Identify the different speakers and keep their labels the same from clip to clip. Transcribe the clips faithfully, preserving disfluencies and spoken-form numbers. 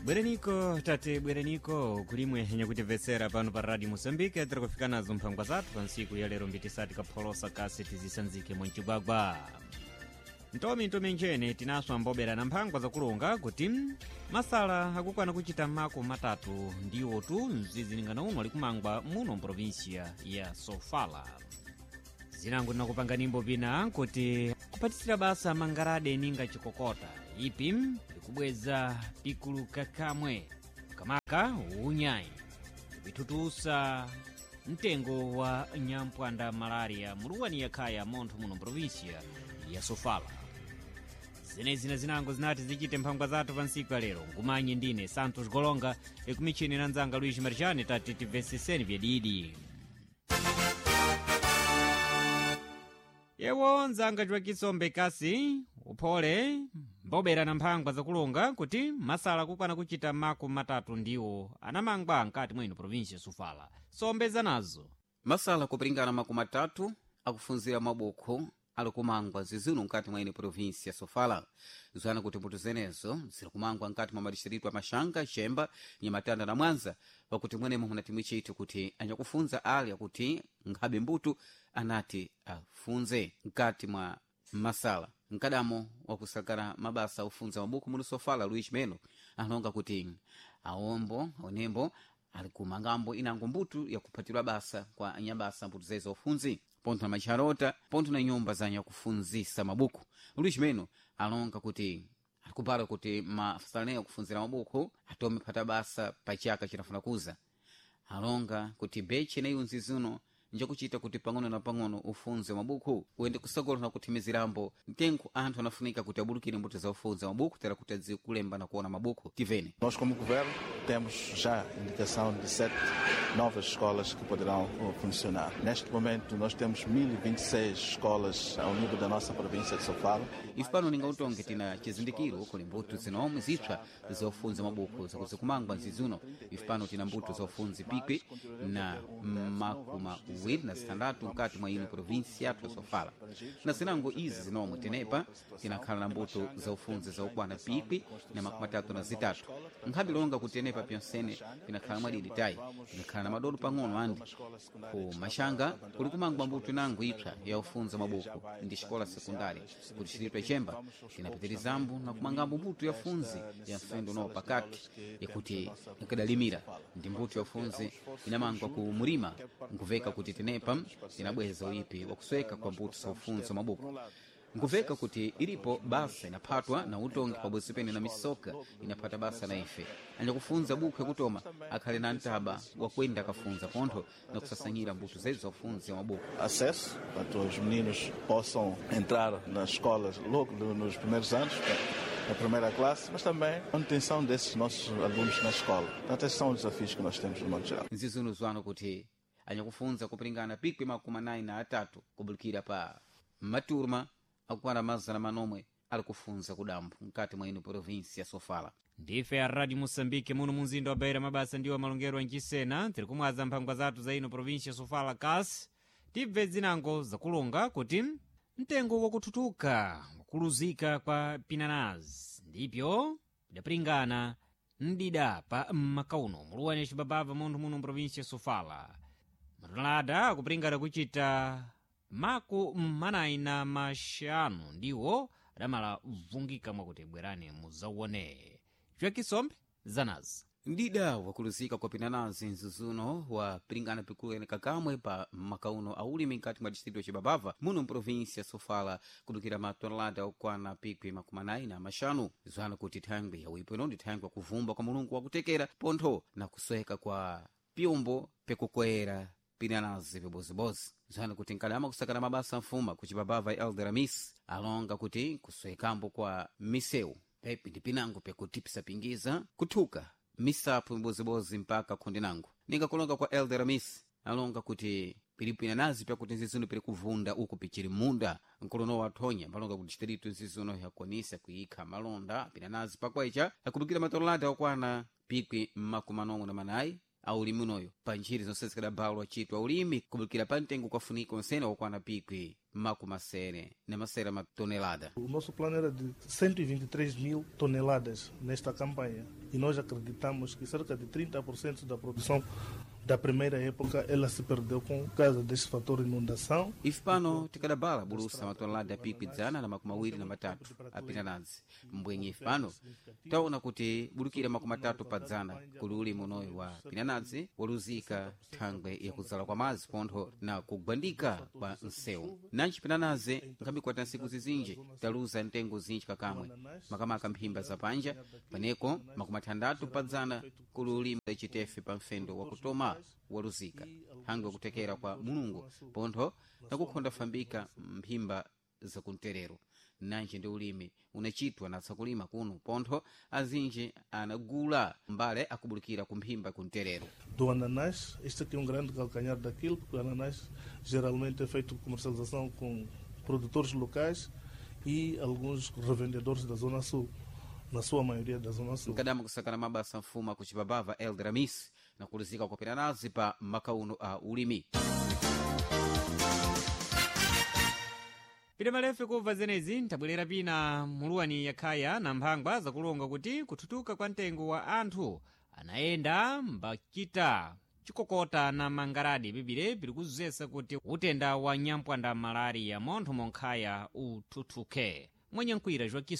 Speaker 1: Bwereniko tate bwereniko kulimwe nyakutimvetsera pano pa radio Moçambique tiri kufika nazo mphangwa zathu pa ntsiku ya lero mbitisati kapholosa kasi tizisanzike mwancigwagwa ntomi ntomi njene tinaswa mbobera na mphangwa zakulonga kuti masala akukwana kuchita mako matatu ndiwo tu mzizilingana uno alikumangwa muno mprovinsia ya Sofala. Zinango tinakupanga nimbo pina kuti kupatisira basa mangarade ninga chikokota ipi ikubweza pikuluka kamwe kamaka unyayi kupithutusa mtengo wa nyampwanda malaria muluwani yakhaya montho muno mprovinsia ya Sofala. Zenezi na zinango zinati zichite mphangwa zathu pa ntsiku ya lero. Ngumanye ndine Santos Golonga ikumichini na nzanga Luiz Marjani tati tibveseseni vyadidi. Yewo nzanga chwakisombe kasi uphole mbobera na mphangwa zakulonga kuti masala kukwana kuchita mako matatu ndiwo anamangwa nkati mwino provinsia Sofala. Sombeza nazo
Speaker 2: Masala kupringana makumi atatu akufunzira mabukho ali kumangwa zizinu nkati mwa ine provinsi ya Sofala. Zwana kuti mbuto zenezo ziri kumangwa nkati mwa madistritu a Maxanga, Xemba, Nyamatanda na Mwanza, pakuti mwenemo muna timwe chithu kuti anyakufunza ali akuti nkhabe mbuto anati afunze nkati mwa masala. Mkadamo wakusakana mabasa ofunza mabuku muno Sofala, Luiz Melo alonga kuti aombo onembo ali kumangambo inango mbuto yakuphatirwa basa kwa anyabasa mbuto zezo ofunzi pontho na macharota pontho na nyumba za nyakufunzisa mabuku. Luiz Melo alonga kuti alikupala kuti mafasaleyo akufunzira mabuku atome phata basa pa chaka chinafuna kuza. Alonga kuti bechi ineyi nzizuno njakuchita kuti pang'ono na pang'ono ufunze mabuku uyende kusogolo na kuthimizirambo mtengo anthu anafunika kuti abulukire mbuto za ufunza mabuku tera kuti adziwe kulemba na kuona mabuku. Tivene
Speaker 3: Nós, como governo, temos já indicação de sete novas escolas que poderão eh, funcionar. Neste momento, nós temos mil e vinte e seis escolas ao nível da nossa província de Sofala.
Speaker 2: Ife pano ningautonge tina chizindikiro kuli mbuto zinomwe zipsa zofunza mabuku zakuzikumangwa nzizuno. Ife pano tina mbuto zofunzi pikwi na makumi awiri na zitandatu mkati mwa ino provinsi yathu ya Sofala. Na zinango izi zinomwe tenepa tinakhala na mbuto za ufunzi zaukwana pikwi na makumi atatu na zitatu. Nkhabe longa kuti tenepa pyonsene tinakhala mwadidi tayi tinakhala na madodo pang'ono andi ku Maxanga kuli kumangwa mbuto inango ipsa ya ufunza mabuku ndi xikola sekundari kuti xilitwa Chemba tinapitirizambo na kumangambo mbuto ya funzi ya mfendo unowo pakati yakuti ikadalimira ndi mbuto ya funzi inamangwa ku murima nkuveka kuti tenepa tinabweza uipi wakusweka kwa mbuto za ufunzi wa mabuku. Nkuveka kuti ilipo basa inaphatwa na utongi pabodzi pene na misoka inaphata basa na ife anyakufunza bukhu yakutoma akhale na ntaba wakwenda akafunza pontho na kusasanyira mbuto zezo za ufunzi wa mabuku.
Speaker 3: Acesso, para que os meninos possam entrar nas escolas logo nos primeiros anos, na primeira classe, mas também a manutenção desses nossos alunos na escola. Portanto, esses são os desafios que nós temos no modo geral.
Speaker 2: Nzizuno zwano kuti anyakufunza kupringana pikwi makumi anayi na atatu kubulukira pa maturma akukwana mazana manomwe ali kufunza kudambo mkati mwa ino provinsi ya Sofala.
Speaker 1: Ndife a radio Moçambique muno munzinda wa Beira mabasa ndiwo malongero ancisena tiri kumwaza mphangwa zathu za ino provinsia Sofala kasi tibve zinango zakulonga kuti mtengo wakuthuthuka wakuluzika kwa pinanazi ndipyo pidapringana mdida pa mmakauno muluwani cibabava munthu muno mprovinsia Sofala. Matonelada akupringana kuchita maku manayi na maxanu ndiwo adamala vungika mwakuti bwerani muzauone. Chwakisombe zanazi
Speaker 2: Mdida wakuluzika kwa pinanazi nzuzuno wapiringana pikulu kakamwe pa makauno aulimi nkati mwa distrito ya Cibabava muno mprovinsi ya Sofala kudukira matonelada okwana pikwi makumi anayi na maxanu. Zwana kuti thangwi ya uipo ino ndi thangwi yakuvumba kwa mulungu wakutekera pontho na kusweka kwa pyombo pekukwera pinanazi pibozibozi. Zwana kuti nkadama kusakana mabasa mfuma ku Cibabava Elder Amis alonga kuti kuswekambo kwa misewu pepi ndi pinango pyakutipisa-pingiza kuthuka misapu mibozibozi mpaka khonde nango. Ninga kulonga kwa Elder Amis alonga kuti pilipo inanazi pyakuti nzizuno pili kuvunda uku pichili munda. Nkolono wathonya malonga kuti distrito nzizuno yakwanisa kuyikha malonda pinanazi pakwecha akudukira matonelada okwana pikwi makumi manomwe na manayi a ulimi unoyo pa ntchito zonse zikadabhalwa chitwa ulimi kubulikira pa mtengo kwafunika onsene okwana pikwi makumasere na masere matonelada.
Speaker 4: O nosso plano era de cento e vinte e três mil toneladas nesta campanha e nós acreditamos que cerca de trinta por cento da produção da primeira época ela se perdeu com causa deste fator inundação.
Speaker 2: Ife pano tikadabala bulusa matonelada pikwi dzana na makumi awiri na matatu apinanadzi mbwenye ife pano taona kuti bulukira makumi atatu pa dzana kuli ulimi unoyu wa pinanadzi woluzika thangwe yakudzala kwa madzi pontho na kugwandika kwa msewu. Nanji pinanadzi nkhambikwata nsiku zizinji taluza mtengo zinji kakamwe makamaka mphimba zapanja paneko makumi athandatu pa dzana kuli ulimi chitefe pa mfendo wakutoma waluzika hangwe kutekera kwa mulungu pontho nakukhonda fambika mphimba zakumterero. Nanji ndi ulimi unachitwa na tsakulima kuno pontho azinji anagula mbale akubulikira kumphimba kumterero.
Speaker 4: Do ananás, este aqui é um grande calcanhar daquilo, porque o ananás geralmente é feito comercialização com produtores locais e alguns revendedores da Zona Sul, na sua maioria da Zona Sul.
Speaker 2: Nkadama kusakana mabasa mfuma kuchipabava Eldramis na kuluzika kwa pinanazi pa makauno a ulimi.
Speaker 1: Pita malefe kubva zenezi ntabwerera pina muluwani yakhaya na mphangwa zakulonga kuti kuthutuka kwa mtengo wa anthu anayenda mbachita chikokota na mangaradi bibire biri kuzesa kuti utenda wa nyampwanda malaria montho monkhaya uthuthuke. Mwenye nkwira Joaquim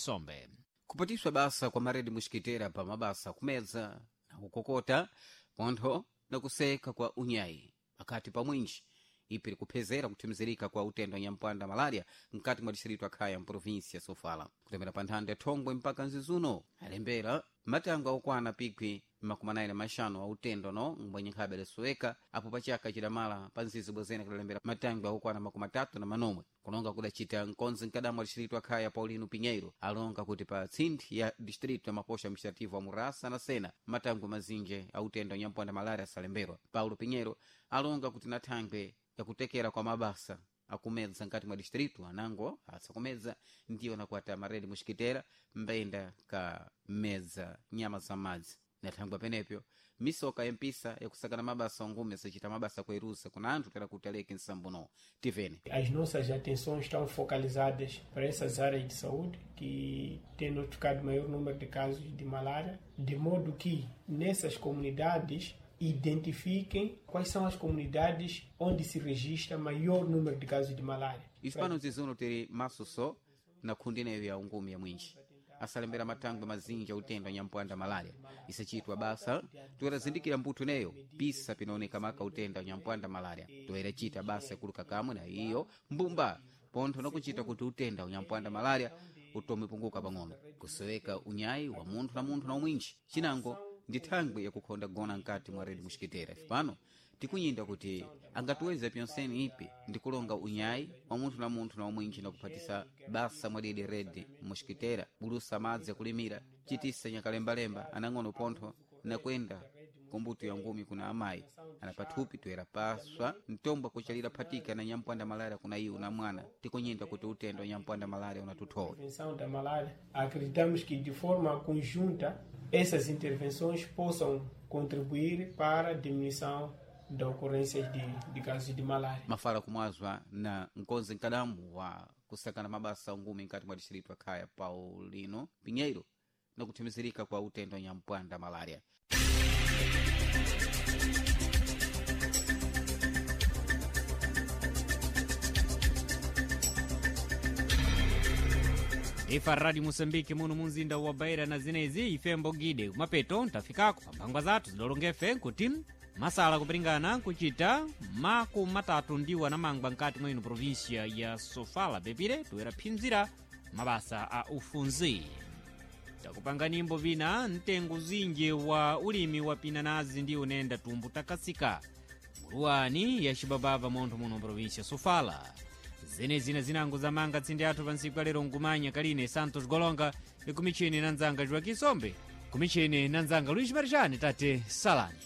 Speaker 2: Kupatiswa basa kwa maredi muxikitera pa mabasa kumedza na kukokota pontho na kuseka kwa unyayi pakati pa mwinji ipi likuphezera kuthimizirika kwa utenda wa nyampwanda malaria mkati mwa distrito akhaya mprovinsia Sofala kutemera pa nthanda ya Thongwe mpaka nzizuno alembera matango akukwana pikwi makumi anayi na maxanu a utendo no mbwenye nkhabe alisoweka apo pachaka chidamala pa nzizi bwezene kudalembera matango akukwana makumi atatu na manomwe kulonga kudacita nkonzi mkadamu wa distrito akhaya Paulino Pinheiro alonga kuti pa tsinthi ya distrito ya maposha administrativo a Murasa na Sena matango mazinji a utendo wa nyampwanda malaria asalemberwa. Paulo Pinheiro alonga kuti na thangwe yakutekera kwa mabasa akumedza nkati mwa distrito anango asakumedza ndiyo nakuata maredi muxikitera mbenda ka medza nyama za madzi na thangwe penepyo misoka yempisa yakusakana mabasa ongume sacita mabasa kuerusa kuna anthu tera kuti aleke nsambuno tivene.
Speaker 5: As nossas atenções estão focalizadas para essas áreas de saúde que têm notificado maior número de casos de malária, de modo que nessas comunidades identifiquem quais são as comunidades onde se registra maior número de casos de malária.
Speaker 2: Isso pano zizuno tiri maso só na kundi neyo ya ungumi ya mwinji asalembera matangwe mazinji a utendo anyampwanda malaria isachitwa basa toyera mbuto neyo pisa pinaoneka maka utenda anyampwanda malaria toyera chita basa yakuluka kamwe na iyo mbumba pontho nakuchita kuti utenda unyampwanda malaria utome punguka pang'ono kusoweka unyayi wa munthu na munthu na umwinji chinango ndi thangwe yakukhonda gona mkati mwa redi muxikitera. Ife pano tikunyinda kuti angatiweza pyonseni ipi ndi kulonga unyayi wa munthu na munthu na umwinji na kuphatisa basa mwadidi redi muxikitera bulusa madzi akulimira chitisa nyakalembalemba anang'ono pontho nakwenda kumbuto ya ngumi kuna amayi ana pathupi toyera paswa mtombo akuchalira phatika na nyampwanda malaria kuna iwo na mwana tikunyinda kuti utendo wa nyampwanda malaria unatuthowe.
Speaker 5: Prevenção da malária. Acreditamos que de forma conjunta essas intervenções possam contribuir para a diminuição da ocorrência de, de casos de malária.
Speaker 2: Mafala kumwazwa na nkonzi nkadamu wa kusakana mabasa ungumi mkati mwa distrito akhaya Paulino Pinheiro na kuthimizirika kwa utendo wa nyampwanda malaria.
Speaker 1: Ifa Radio Moçambique muno munzinda wa Beira na zinezi ife mbogide kumapeto ntafikako pamphangwa zathu zidolongefe nkuti masala kupiringana nkuchita maku matatu ndiwo anamangwa nkati mwa ino província ya Sofala pepire toyera phinzira mabasa a ufunzi. Takupanga nimbo vina mtengo zinji wa ulimi wa pinanazi ndi unenda tumbu takasika muluwani ya xibabava montho muno província Sofala. Zenezi na zinango zamanga tsindi athu pa ntsiku alero nkumanya kaline Santos Golonga ikumichini na nzanga Joaquim Sombe kumichini na nzanga Luís Marjane tate salani.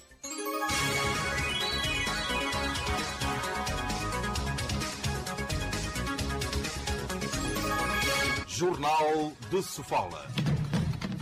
Speaker 6: Jornal de Sofala.